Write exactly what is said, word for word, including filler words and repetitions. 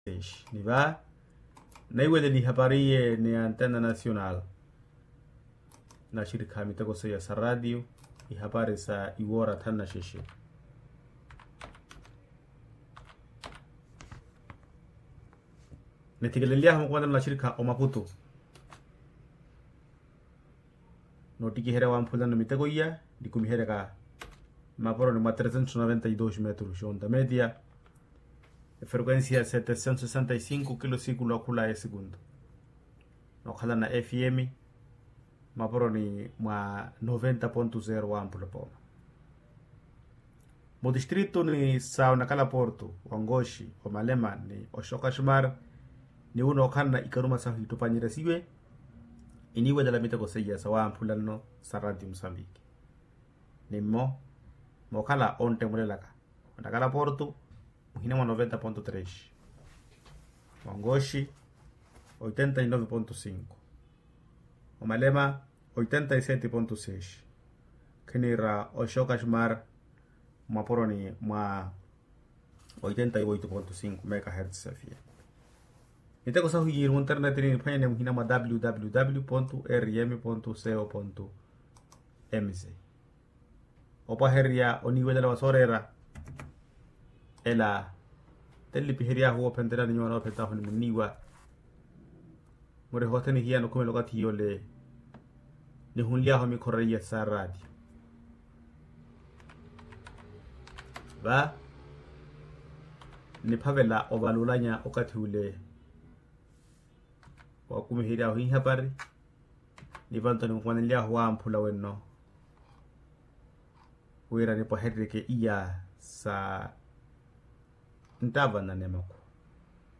Ni va naiweleli ihapari iye ni antena nacional. Naxirikha miteko seiya sa ratio ihapari sa iwoora thanu na xexe. Nithikeleliyahu mukumanelo naxirikha omaputu. Noottikiherya wamphulano miteko iya nikumiheryaka mapuroni mwa tresentos noventa y dos metros xonta media. Efrequencia setesentos sesenta y cinco kilo sikulu akhula esikunto. Nookhalana fm mapuroni mwa noventa ponto zero wa mpula pooma. Mutistrito ni sa onakala porto, ongoxi, omalema ni oxokaxmar. Ni wu nookhalana ikaruma sahu ittupanyeryasiwe. Iniwelela miteko seiya sa wamphula nno sa ratio musambiki. Ni mmo mookhala onttemulelaka onakala porto muhina mwa noventa ponto tres, ongoxi oitenta y nove ponto cinco, omalema oitenta y sete ponto seis, khiniira oxokaxmar mwapuroni mwa oitenta y oito ponto cinco megahertz safiya. Miteko sahu yiiri munternetini niphwanyane muhina mwa www rm co mz. Opwahererya oniiwelela wa sooreera ela tenlipiheryaahu woophentelani nyuwa noophentaahu ni munniiwa. Muri hothene hiyano khumela okathi yole nihunlyaahu mikhororiya sa ratio. Va niphavela ovalulanya okathi ule wakumiheryaahu ihapari. Ni vanto nimukumanelyaahu wamphula wenno wira nipwahereryeke iya sa nttava nnanemakhu.